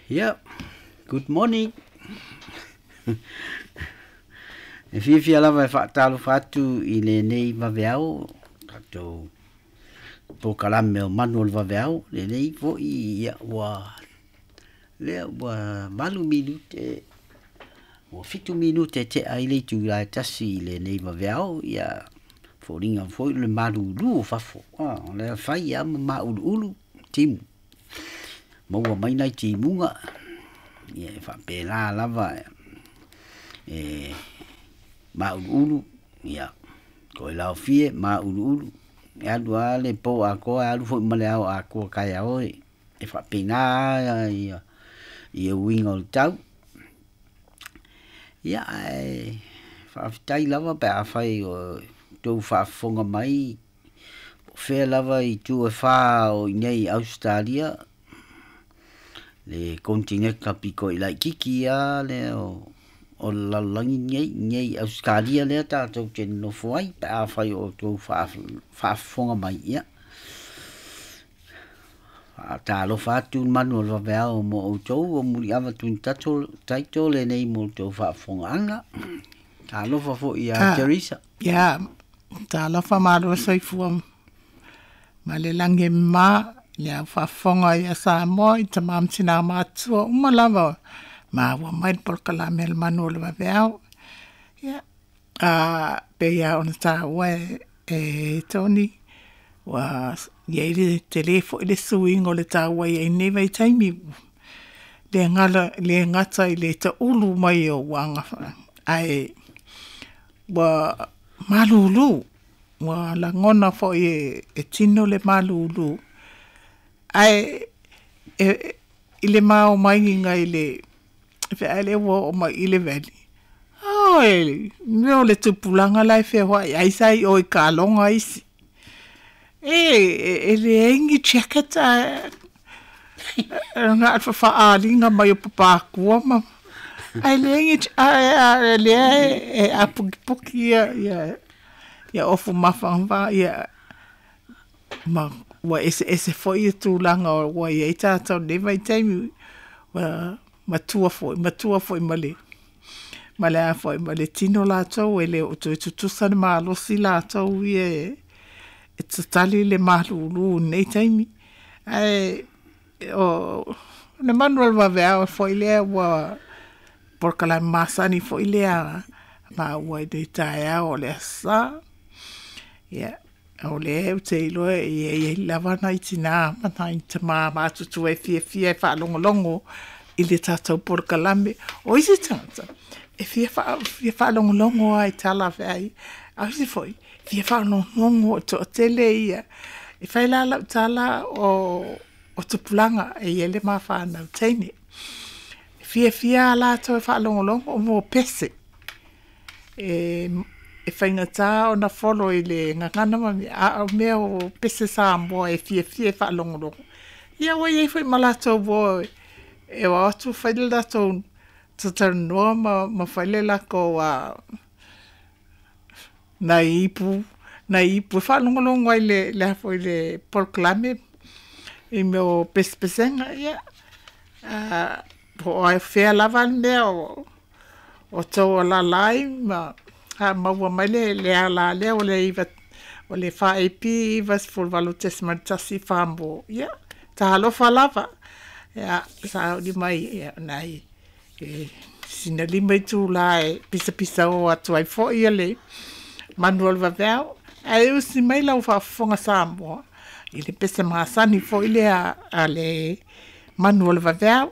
Ia, good morning. E fiafia lava e faatalofa atu i lenei vaveao, tatou polokalame o Manu o le Vaveao, lenei foi ia ua lea ua 8 minute ua 7 minute tea ai le itula e 1 i lenei vaveao, ia foliga foi le malulu o fafo. O lea fai lava ma mauluulu timu, maua mai nai timuga, ia e faapena lava e mauluulu, ia toe laofie mauluulu, e alu lava le po atoa, e alu foi ma le ao atoa taeao e faapena ia uiga o le tau. Ia ae faafetai lava pe afai o outou faafofoga mai po o fea lava itu e fa o i inei i Ausetalia, le konetineta pito i laitiiti lava lea o le lalolagi lenei, i inei i Ausetalia lea tatou te nonofo ai pe afai o outou faafofoga mai. Ia faatalofa atu le Manu o le Vaveao mo outou o Muliava Twin Title lenei mo outou faafofogaaga. Talofa foi ia Teresa. Ia, talofa malo soifua ma le lagi e mama i le au faafofoga ia Samoa i tama ma tina matutua uma lava maua mai le polokalame a le Manu o le Vaveao. Ia, pei lava ona taua e Tony, ua i ai le tele foi le suiga o le tau ua i ai nei vaitaimi, le gata i le taulu mai o uaga, ae ua malulu, ua lagona foi e tino le malulu. Ae i le maomaigiga i le feai lea ua oo mai i le valley, oi, mea o le tupulaga la e feoai ai sa i o i kaloga isi. E leai ni jacket a na o le faaaaliga mai o papakua ma ae leai ni ae lea e apukipuki ia ofu mafanafana ia ma ua eseese foi tulaga ua i ai tatou i lenei vaitaimi, ua matua foi ma le a foi ma le tino latou e le o toe tutusa le malosi latou ia e tatali le malulu i lenei taimi. Ae o le Manu o le Vaveao foi lea ua polokalame masani foi lea maua i le taeao o le Aso Sa. Ia, o lea ou te iloa e i ai lava nai tina ma nai tama matutua e fiafia e faalogologo i le tatou polokalame. O isi tagata e fia faalogologo lava i tala feai, a o isi foi e fia faalogologo e toatele ia. E fai la lau tala o tupulaga e i ai le ma fanau teine. E fiafia lava latou e faalogologo mo pese. E faigata ona follow i le gagana ma mea, a o mea o pese Samoa e fiafia e faalogologo. Ia ua i ai foi ma latou uo e o atu fai le latou talatalanoa ma fai le latou nai ipu e faalogologo ai le a foi le polokalame i mea o pesepesega. Ia, po o fea lava le mea o tou alaala ai ma maua mai le ala lea o le 4AP 98.1 mo. Ia, talofa lava. Ia, sauni mai ia nai sina 5 itula e pisapisao atu ai foi le Manu o le Vaveao. Ae usi mai lau faafofoga Samoa i le pese masani foi lea a le Manu o le Vaveao.